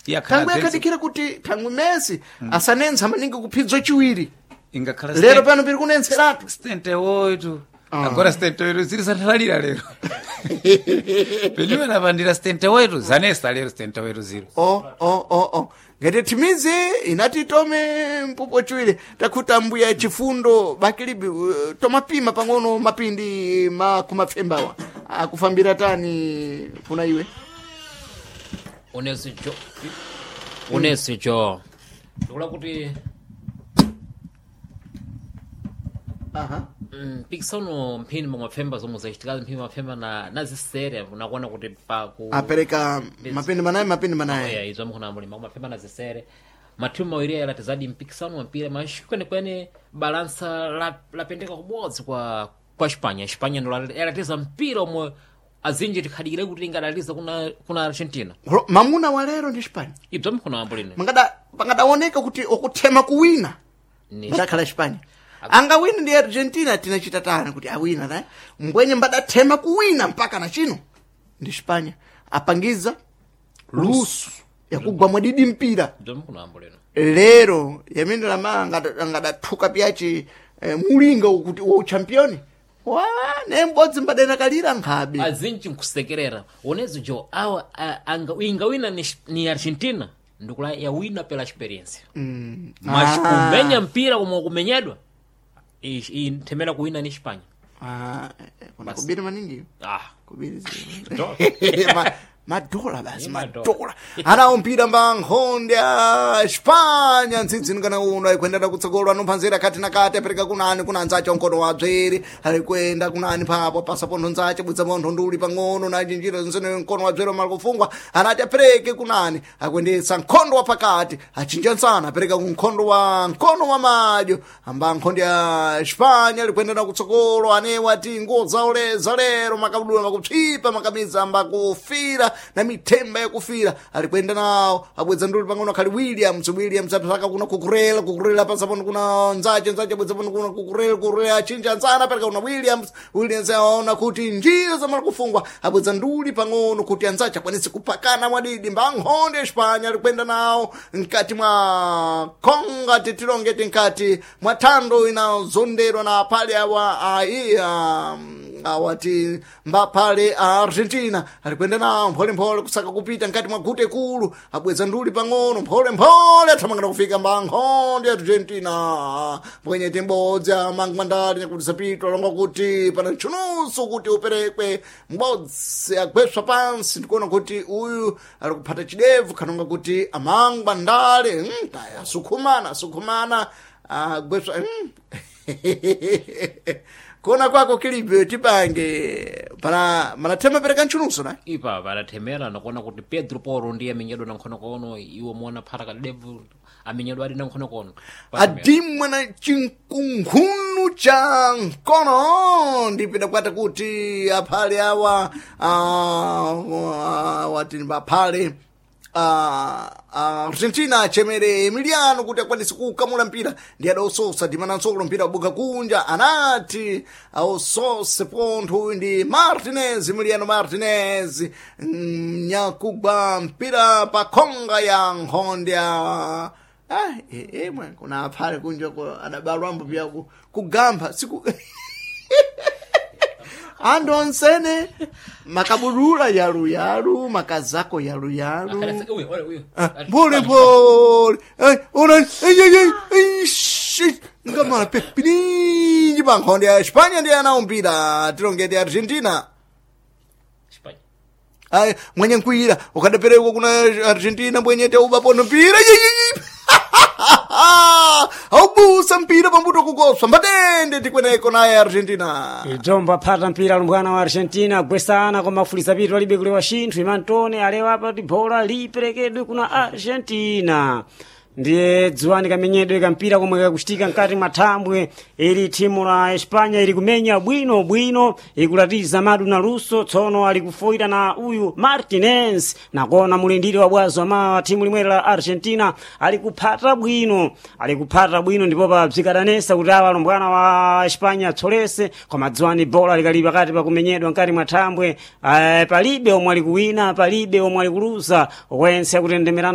Iyakhala Thangwe akadikira kuti thangwe Messi asanensa maningi kuphidzwa chiwiri. Ingakhala Lero pano piri kunenseratu. Stente oito. Agora stente oito ziri sathalira lero. Peliwe napandira stente oito zanesa lero stente oito ziro. O o o o ngati timizi inati tome mpupo chiwiri takhuta mbuya chifundo bakilibi tomapima pang'ono mapindi ma kumapfembawa akufambira tani kuna iwe. Unesi jo, unesi jo, ndikula kuti Aha. Mpikisano mphini momwapfemba zomwe zachitika mphini mapfemba na nazisere unakuona kuti pa ku Apereka mapindi manayi mapindi manayi. Yeah, izo mkhona mulima kumapfemba na zisere mathimu mawiri aya latizadi mpikisano wa mpira mas kwenekwene balansa lapendeka kubodzi kwa Espanya. Espanya ndo yalatiza mpira omwe azinji tikhadikire kuti ingadaliza kuna Argentina. Mamuna wa lero ndi Spanya. Ibzo mkhona wambo lino. Mangada pangadaoneka kuti okuthema kuwina Ni- ndakhala Espanya angawina ndi Argentina tinachita tani kuti awina na mbwenye mbadathema kuwina mpaka na chino ndi Espanya apangiza lusu yakugwa mwadidi mpira. Ibzo mkhona wambo lino. Lero yamene lama angadathuka piyachi mulinga kuti wa uchampioni wa ne mbodzi mbadena kalira nkhabe. Azinji nkusekerera unezo jo awa ingawina ni Argentina ndikula yawina pela experience mas kumenya mpira komwe kumenyedwa inthemera kuwina ni Espanya. Ah, kuna kubiri maningi. Ah. Kubiri madola basi. Ni madola. Madola anawo mpira mba nkhonde ya Espanya ntsidzini kana uno ayikwendera kutsogolo anophanzira kati na kati apereka kunani kuna anzace onkono wa bzeri alikwenda kunani papo pasa pontho nzace bwidza pontho nduli pang'ono na njinjira nsene mkono wa bzeri omala kufungwa anati apereke kunani akwendetsa nkhondo wa pakati achinja nsana apereka kunkhondo wa mkono wa madyo amba nkhonde ya Espanya alikwendera kutsogolo anewa ati nguo zaoleza lero makabudula makupsipa makamiza amba kufira na mithemba yakufira alikwenda nawo abwedza nduli pang'ono akhali Williams. Williams apsaka kuna kukurela kukurela pasa pano kuna nzace nzace abwedza pano kuna kukurela kukurela achinja nzana apereka kuna Williams. Williams aona kuti njira zamala kufungwa abwedza nduli pang'ono kuti anzace akwanise kupakana mwadidi mba nkhonde Espanya alikwenda nawo mkati mwa konga titilongeti nkati mwa thando inazonderwa na pale awa aiya awati mbaphale a Argentina alikwenda nawo mpholemphole kusaka kupita nkati mwa gute kulu abweza nduli pang'ono mpholemphole athamangana kufika mbankhonde Argentina mbwenyete mbodzi amangwandali nyakuti zapitwa longa kuti pana ntchunuso kuti uperekwe mbodzi agweswa pansi ndikuona kuti uyu ali kuphata chidevu khanonga kuti amangwandale taya asukhumana asukhumana agweswa. Kuona kwako kilibe tipange pana manathema pereka ntchunuso na Ipa padathemera nakuona kuti Pedro Poro ndiye amenyedwa na nkhonokono iwo muona phata kadevu amenyedwa adi na nkhonokono. Adimwa na chinkunkhunu cha mkono ndipita kwata kuti aphale awa wati aphale Argentina achemere Emiliano kuti akwanise kukamula mpira ndi adaososa ndimanansolo mpira wabuka kunja anati aosose pontho uyu ndi Martinez Emiliano Martinez nyakugwa mpira pa khonga ya nkhonde ya ah, mwe kuna aphale kunja adabalwambo pya kugamba siku andu onsene makabudula yaluyalu makazako yaluyalu. Pole pole. Ora, ei, ei, ei, ei, shi, ngamala pepininji pankhonde ya Espanya ndi anawo mpira tilongete Argentina. Ai, mwenye nkwira ukadapereka kuna Argentina mbwenyete ubapono mpira. Yi, yi, yi. Aubusa mpira pambuto kukoswa mbatende tikweneko naye Argentina. Idzombo aphata mpira alumbwana wa Argentina agwesana koma afuliza pitu alibe kulewa chinthu imantone alewa apa kuti bola liperekedwe kuna Argentina ndiye dziwani kamenyedwe kampira komwe kakuchitika mkati mwa thambwe ili thimu la Espanya ili kumenya bwino bwino ikulatiza madu na luso tsono ali kufoira na uyu Martinez nakona mulindiri wa bwazo ama thimu limweri la Argentina ali kuphata bwino ali kuphata bwino ndipo pabzikadanesa kuti awa alumbwana wa Espanya atsolese koma dziwani bola likali pakati pakumenyedwa mkati mwa thambwe palibe omwe ali kuwina palibe omwe ali kuluza wense akutendemerana.